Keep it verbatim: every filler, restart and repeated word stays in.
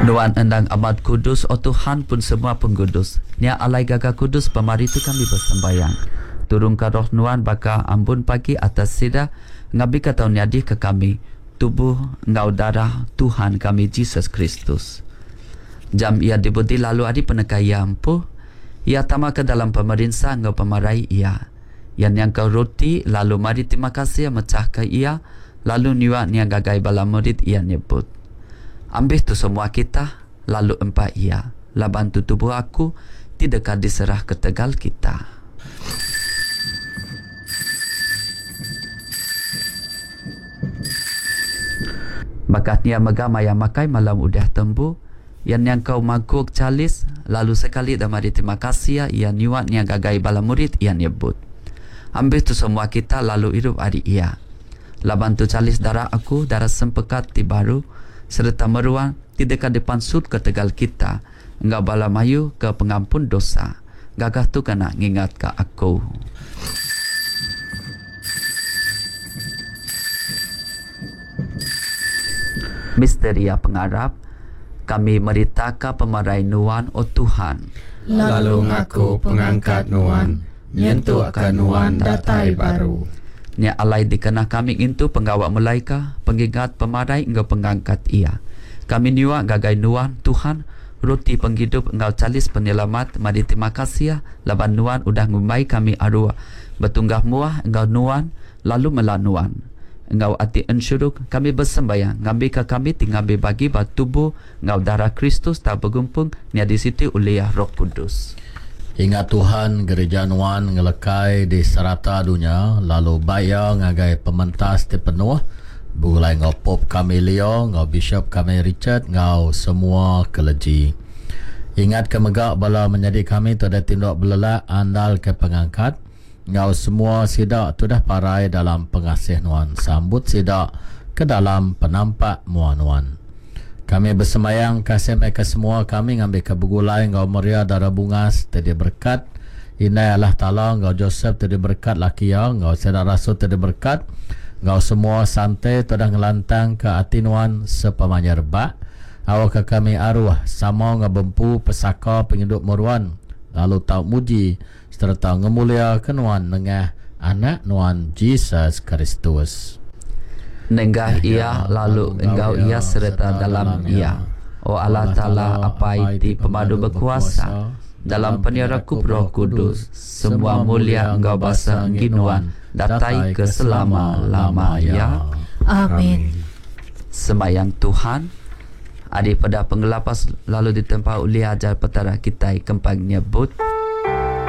Nuan endang amat kudus, O Tuhan, pun semua pengudus. Nya alai gaga kudus pemari tu kami besembayang. Turungka Roh Nuan baka ambun pagi atas sida, ngambika tau nyadika kami tubuh enggau darah Tuhan kami Jesus Kristus. Jam iya dibudi lalu ari peneka iya empu, iya tama ke dalam pemerinsa enggau pemarai iya. Iya nyangkau roti lalu mari terima kasih mechahka iya lalu nyua nya ngagai bala murid iya nyebut, Ambih tu semua kita lalu empa iya, laban tu tubuh aku ti deka diserah ketegal kita. Baka nya mega maya makai malam udah tembu, iya nyangkau mangkuk chalis lalu sekali da meri terima kasih iya nyua nya ngagai bala murid iya nyebut, Ambih tu semua kita lalu irup ari iya. Laban tu chalis darah aku, darah sempekat ti baru sereta meruan ti deka dipansutka tegal kita enggau bala mayuh ke pengampun dosa. Gagah tu kena ngingatka aku. Misteria pengarap, kami meritaka pemarai Nuan, O Tuhan. Lalu ngaku pengangkat Nuan, nyentukka Nuan datai baru. Nya alai dikena kami ngintu pengawa mulaika pengingat pemarai enggau pengangkat Iya. Kami nyua ngagai Nuan, Tuhan, roti pengidup enggau chalis penyelamat, meri terima kasih laban Nuan udah ngumbai kami arua betunggah muah enggau Nuan lalu mela Nuan. Enggau ati ensuruk, kami besembayang ngambika kami ti ngambi bagi ba tubuh enggau darah Kristus tau begumpung nyadi siti ulih Roh Kudus. Ingat Tuhan Gerija Nuan ngelekai di serata dunya, lalu bai iya ngagai pementas ti penuh, begulai enggau Pope kami Leo, enggau Bishop kami Richard, enggau semua keleji. Ingatka mega bala menyadi kami ti udah tinduk belelak andalka pengangkat, enggau semua sida ti udah parai dalam pengasih Nuan. Sambut sida ke dalam penampak mua Nuan. Kami besembayang kasih meh ke semua kami ngambika begulai enggau Maria Dara Bungas ti diberekat, Indai Allah Taala enggau Josep ti diberekat laki iya, enggau sida rasul ti diberekat, enggau semua sante ti udah ngelantangka ati Nuan sepemanjai rebak, awakka kami aruh sama enggau bempu pesaka pengidup meruan lalu tau muji sereta ngemuliaka Nuan nengah Anak Nuan Jesus Kristus. Nengah Iya lalu enggau Iya sereta dalam Iya, O Allah Taala Apai ti Pemadu Bekuasa, dalam penyerakup Roh Kudus, semua mulia enggau basa enggi Nuan datai ke selama-lama iya. Amin. Sembayang Tuhan, ari peda pengelapas lalu ditempa ulih ajar Petara kitai kempang nyebut.